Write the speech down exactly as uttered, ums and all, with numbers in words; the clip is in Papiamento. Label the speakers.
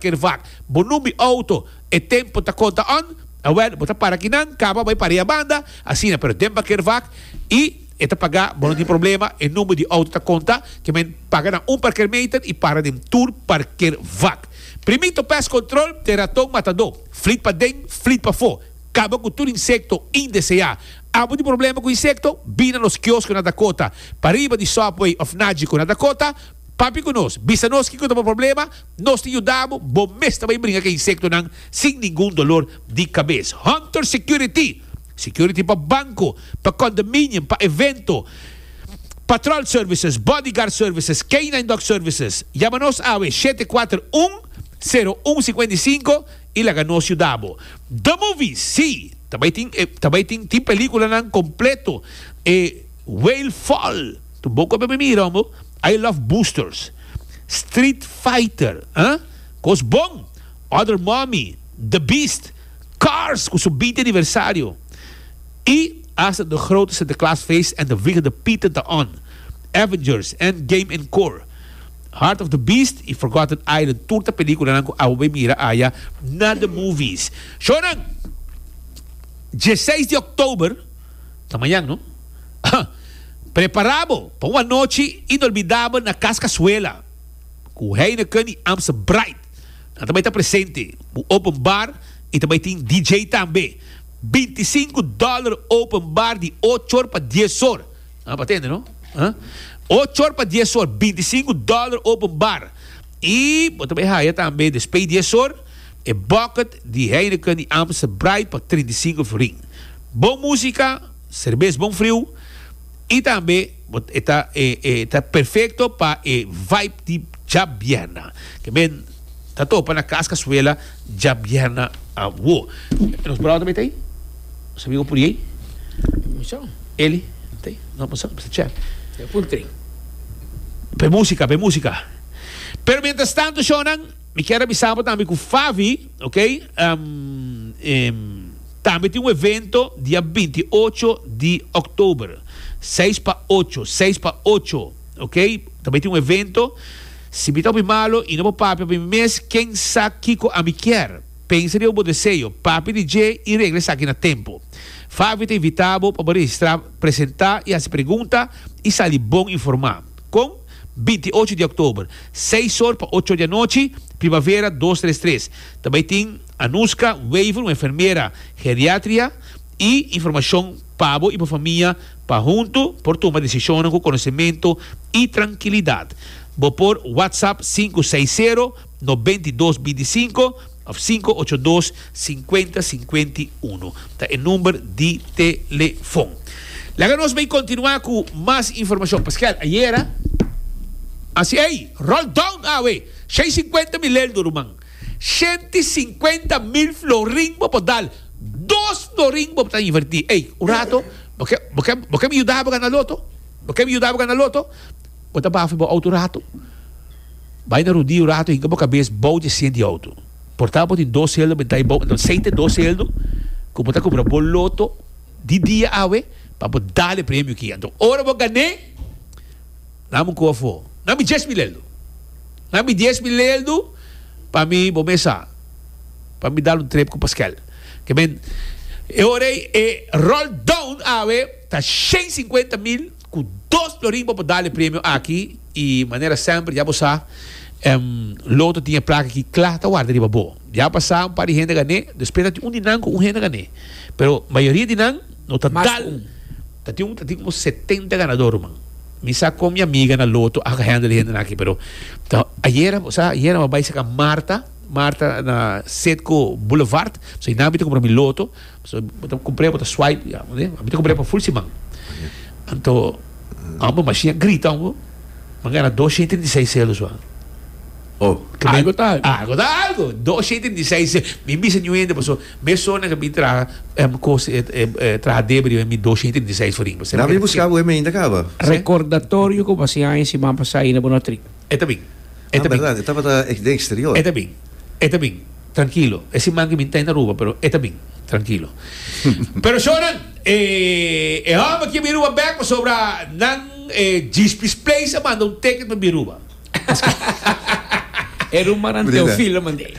Speaker 1: Parkeervak. Bo number auto e tempo ta conta on. Awel, bo ta para akinan, caba bay para banda, asina, pero den parkeervak y e ta paga, bo no tin problema, e number di auto ta conta, kiermen paga na un parkeermeter y para den tur parkeervak. Primito Pest Control, ta raton matador. Flit paden, flit pafo. Caba cu tur insecto indesea. Abo tin problema cu insecto? Bin na nos kiosko na Dakota. Pariba di Subway of Nagico na Dakota. Papia cu nos, bisa nos kico ta e problema, nos ta yuda bo, bo mes ta bay bringa cu insectonan sin ningun dolor di cabes. Hunter Security, security pa banco, pa condominium, pa evento, Patrol Services, Bodyguard Services, K nine Dog Services. Yama nos awe shete cuater un sero un cinco cinco y laga nos yuda bo. The Movies, si, tambe tin, eh, tambe tin, tin peliculanan completo. Eh, Whale Fall, tur boca pa mira, amo. I Love Boosters. Street Fighter, hein? Cos bon. Other Mommy, The Beast, Cars, cu su binti aniversario. Y hasta de grote Sinterklaasfeest en de Vliegende Pieten te on. Avengers, Endgame Encore. Heart of the Beast y Forgotten Island. Tur ta peliculanan cu abo mira aya na The Movies. Shonan, diesseis di october, ta mañan, no? Prepara bo pa un anochi inolvidabel na Cas Casuela. Cu Heineken y Amstel Bright. Nan tambe ta presente. E open bar y tambe tin D J tambe. binticinco dollar open bar di ocho or pa dies or. Ah, pa tende, no? Ah? ocho or pa dies or, binticinco dollar open bar. Y bo tambe haya tambe despues di dies or, e bucket di Heineken y Amstel Bright pa trinta i cinco florin. Bon musica, cerbes bon friu y tambe ta, ta perfecto pa e vibe di diabierna. Kiermen, ta topa na Cas Casuela diabierna awo. Nos brother tambe tin? Nos amigo por ey?
Speaker 2: Michel.
Speaker 1: Ele? Tin? No, mas mas check.
Speaker 2: E puntri.
Speaker 1: Pa musica, pa musica. Pero mientras tanto, Shonan, mi kier avisa tambe cu Favi, ok? Um, um, tambe tin un evento dia binti ocho di october. seis pa ocho, seis pa ocho, ok? Tambe tin un evento. Si mi ta malo y no por papia pa mi mes, ken sa kico ami kier? Pensa den bo deseo, papia di dje y regla esaki na tempo. Favi ta invita bo pa registra, presenta y haci pregunta y sali bon informa. Cu binti ocho di october, seis or pa ocho di anochi, Primavera dos tres tres. Tambe tin Anuska Weaver, un enfermera geriatria, y informacion pa bo y pa famia, pa hunto por tuma decision cu conocimento y trankilidad. Bo por WhatsApp cinco seis sero nove dos dos cinco of cinco ocho dos cinco zero cinco uno. Ta e number di telefon. Laga nos bay continua cu mas informacion. Pascal, ayera, asina, ey, roll down, awe, seiscientos cincuenta mil euro, ruman. shen cincuenta mil florin bo por dal. Dos florin bo ta inverti. Ey, un rato, bo kier, bo kier, bo kier mi yuda gana loto? Bo kier mi yuda gana loto? Bo ta bafa bo auto rato. Bay na rudia un rato, hinca bo cabes bou di asiento di auto. Por ta bo tin dos sueldo, benta bou, anto sente dos sueldo, cu bo ta cumpra bo loto di dia awe, pa bo dal e premio aki. Anto, ora bo gana, dami un cofo. Dami dies mil euro. Dami dies mil euro pa mi, bo mesa. Pa mi dal un trip cu Pascal. Kiermen, e ora e roll down awe, ta shen cincuenta mil, cu dos florin pa dal e premio aki, y manera semper, ya bo sa, um, loto tin e placa aki cla ta warda riba bo. Ya pasa un par di hende gana, despues tin un di nan cu un hende gana. Pero mayoria di nan no ta
Speaker 2: Mas
Speaker 1: dal.
Speaker 2: un.
Speaker 1: Ta tin un ta tin como setenta ganador, man. Mi sa cu mi amiga na loto a handle hende aki, pero ta ayera, o sea, ayera mi a bay saca Marta, Marta na Setco Boulevard. So ina mi ta cumpra mi loto. So bo ta cumpra, bo ta swipe, ya, ne? Mi ta cumpra pa full siman. Anto, amo machine grita amo. M'a gana dos shen trinta i seis celos so.
Speaker 3: Oh,
Speaker 2: Algo ta algo.
Speaker 1: Algo ta algo. dos shen trinta i seis. Mi bisa nu hende, paso me sona que mi traha em cos eh, eh, traha debri mi dos shen trinta i seis florin.
Speaker 3: Na mi busca bo ainda caba.
Speaker 2: Recordatorio cu basi aña siman pasa na Bonatri.
Speaker 1: E ta bin. E
Speaker 3: Ah,
Speaker 1: ta bin.
Speaker 3: berdad, tabata den exterior.
Speaker 1: E ta bin. E ta bin. Trankilo. E siman cu mi ta na Aruba, pero e ta bin. Trankilo. Pero Shonan, eh, eh, home aki bin Aruba back sobre nan eh, Gispis Place a manda un ticket pa Aruba.
Speaker 2: Era un maran
Speaker 3: Brida.
Speaker 2: Teofilo mandé.